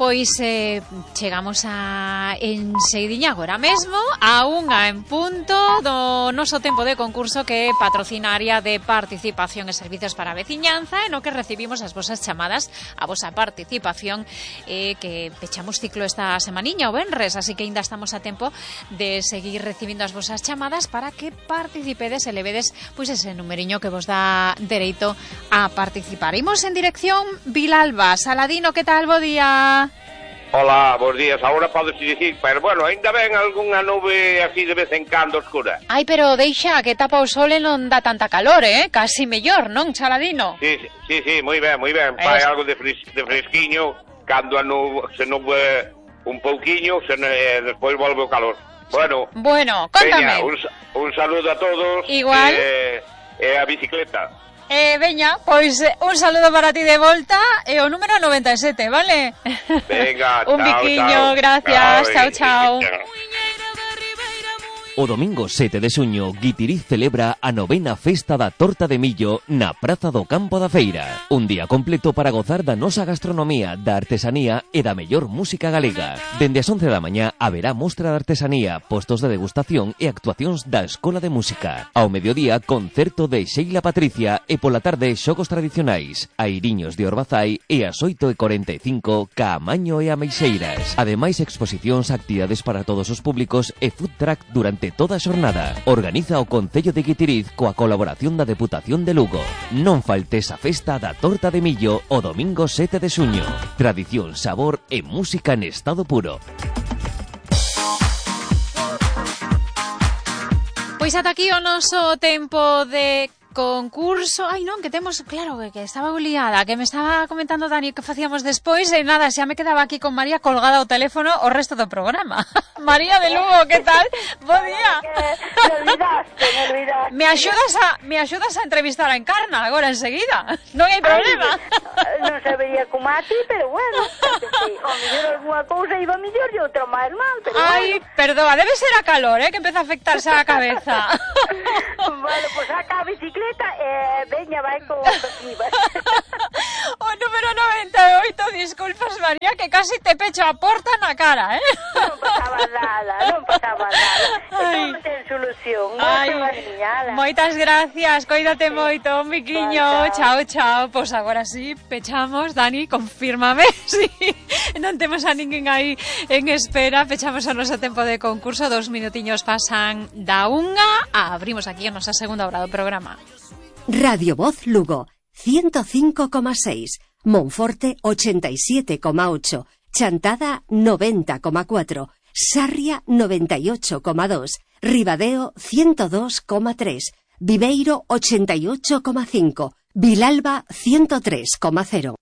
Pois chegamos a enseguidiña agora mesmo a unha en punto do noso tempo de concurso, que é patrocina a área de participación e servizos para a veciñanza, e no que recibimos as vosas chamadas, a vosa participación, que pechamos ciclo esta semaniña o venres, así que ainda estamos a tempo de seguir recibindo as vosas chamadas para que participedes e levedes pois ese numeriño que vos dá dereito a participar. Imos en dirección Vilalba. Saladino, que tal? Bo día. Hola, bons días. Agora podes dicir, pero bueno, ainda ven algunha nube así de vez en cando oscura. Ai, pero deixa, que tapa o sol e non dá tanta calor, Casi mellor, non, Saladino? Sí, moi ben. Fai algo de fresquiño, cando se nube un pouquiño, despois volve o calor. Bueno, contame. Veña, un saludo a todos. Igual. E a bicicleta. Veña, pois un saludo para ti de volta e o número 97, vale? Venga, un biquiño, gracias, chao. O domingo 7 de xuño, Guitiriz celebra a 9ª Festa da Torta de Millo na Praza do Campo da Feira. Un día completo para gozar da nosa gastronomía, da artesanía e da mellor música galega. Dende as 11 da mañá haberá mostra de artesanía, postos de degustación e actuacións da Escola de Música. Ao mediodía, concerto de Sheila Patricia e pola tarde xogos tradicionais, airiños de Orbazai e ás 8:45 Caamaño e Ameixeiras. Ademais, exposicións, actividades para todos os públicos e food truck durante toda a xornada. Organiza o Concello de Guitiriz coa colaboración da Deputación de Lugo. Non faltes a festa da Torta de Millo o domingo 7 de xuño. Tradición, sabor e música en estado puro. Pois ata aquí o noso tempo de concurso. Ai non, que temos, claro, que estaba liada, que me estaba comentando Dani que facíamos despois e nada, xa me quedaba aquí con María colgada ao teléfono o resto do programa. María de Lugo, que tal? Bo día. Me olvidaste. Me axudas a entrevistar a Encarna agora enseguida. Non hai problema. Non sabería como a ti, pero bueno, o mellor alguna cousa iba mellor e outra máis mal, pero ai, bueno. Perdoa, debe ser a calor, que empeza a afectarse a cabeza. Bueno, pues saca a bicicleta. Veña, vai con objetivas. O número 98, disculpas María, que casi te pecho a porta na cara, Non pasaba nada. Estamos en solución. Moitas gracias, coídate moito, un biquiño. Chao. Pois agora sí, pechamos, Dani, confírmame. Sí, non temos a ninguén aí en espera. Pechamos o noso tempo de concurso, 2 minutiños pasan da 1. Abrimos aquí a nosa segunda hora do programa. Radio Voz Lugo, 105,6, Monforte 87,8, Chantada 90,4, Sarria 98,2, Ribadeo 102,3, Viveiro 88,5, Vilalba 103,0.